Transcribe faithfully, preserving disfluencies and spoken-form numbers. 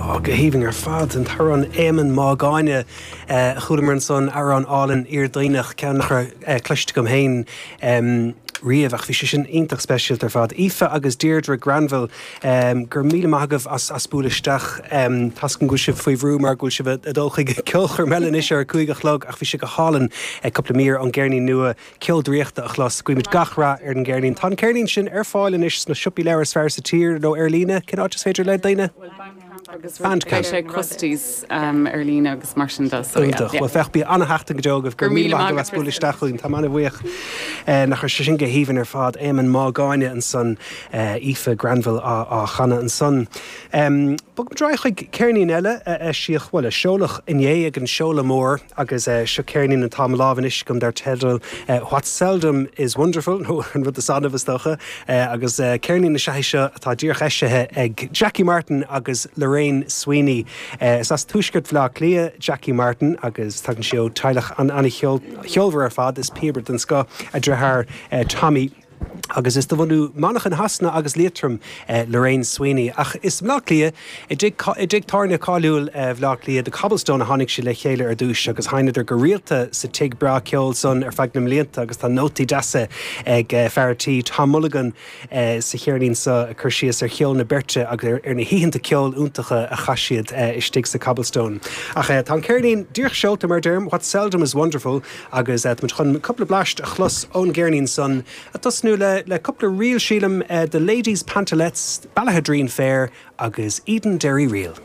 Go haoibhinn ar fad an t-amhrán Éamonn Mágáine chualamar ansan amhrán álainn iarduineach ceann nach raibh cloiste agam féin riamh ach bhí sé sin iontach speisialta ar fad. Aoife agus Deirdre Granville gur míle maith agaibh as as bualadh isteach tá a fhios agam go bhfuil sibh faoi bhrú mar go bhfuil sibh ag dul chuig ceolchoirm eile anois ar a cúig a chlog ach bhí sé go hálainn cúpla mír ón gceirnín nua ceol draíochta a chlos guímid gach rath ar an gceirnín. Tá an ceirnín sin ar fáil anois sna siopaí leabhar is fearr sa tír nó ar líne cén áit is féidir le daoine? agus sé costas um, ar líne agus mar sin de Well féach bí an-sheachtain go deo gur míle maith as bualadh isteach chugainn tá an-bhuíoch nach sé sin go haoibhinn ar fad Éamonn Mágáine ansan Aoife Granville á, á chanadh ansan. Um, Bog muid chuig ceirnín eile eisíodh bhuel a seoladh inné ag an seoladh mór agus uh, seo ceirnín atá i mo lámh anois agam dar teideal uh, What Seldom is Wonderful nó an rud is annamh is dócha uh, agus uh, ceirnín na sé seo atá díreach eisithe ag Jackie Martin agus Lorraine Sweeney. Uh, is as tuaisceart Bhaile Átha Cliath Jackie Martin agus tagann sí ó teaghlach an an-cheolmhar ar fad is píobaire den scoth a deartháir uh, Tommy. Agus is de bhunadh Manchain Shasana agus Liatroim eh, Lorraine Sweeney. Ach is i mBleá Cliath i dtigh tábhairne cáiliúil eh, Bhleá Cliath The Cobblestone a tháinig siad le chéile ar dtús agus sheinneadar go rialta sa tigh breá ceoil san ar feadh na mblianta agus tá nótaí deasa ag eh, fear an tí Tom Mulligan eh, sa cheirnín seo ag cur síos ar cheol na beirte agus ar, ar na hoícheanta ceoil iontacha a chaith siad eh, istigh sa Cobblestone. Ach eh, tá an ceirnín díreach seolta mar deirim, What Seldom is Wonderful agus eh, chun cúpla blast a chlos ón gceirnín san a tosnú le le cúpla ríl sílim uh, The Ladies Pantalettes, Ballaghaderreen Fair agus Edenderry Reel.